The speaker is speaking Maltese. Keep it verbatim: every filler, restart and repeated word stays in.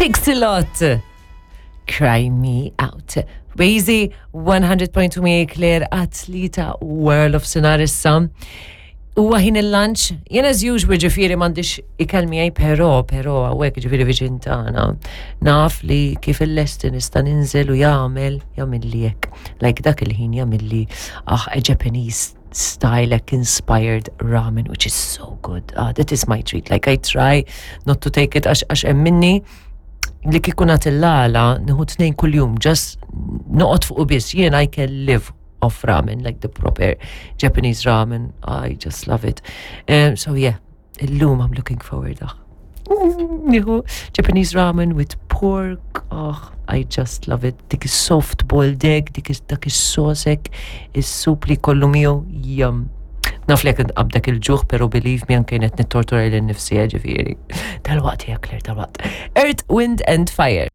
Pixelot. Cry Me Out. Wazy one hundred point two miegħi Claire għat-tlieta wara nofsinhar issa. Huwa ħin il-lunch, jien as usual ġifieri m'għandix ikel miegħi, però però hawnhekk ġifieri viċin tagħna. Naf li kif il-lesti nista' ninżel u jagħmel jagħmel hekk. Like dak il-ħin jagħmel ah, a Japanese style, like inspired ramen, which is so good. Ah, that is my treat. Like I try not to take it għax għax hemm minni li kieku nagħti l-għala nieħu tnejn kuljum, just noqgħod fuq biss, jien I can live off ramen, like the proper Japanese ramen. I just love it. Um, so yeah, illum I'm looking forward. Ah. Nieħu Japanese ramen with pork. Oh, I just love it. Dik is soft boiled egg, dik is dak is-sauce, is-soup li kollu miegħu, yum. Naf li jekk qabdek il-ġuħ, pero believe me, anke qed nittortura lil nifsi, ġifieri. Dal-waqt, ja Claire, dal-waqt. Earth, Wind and Fire.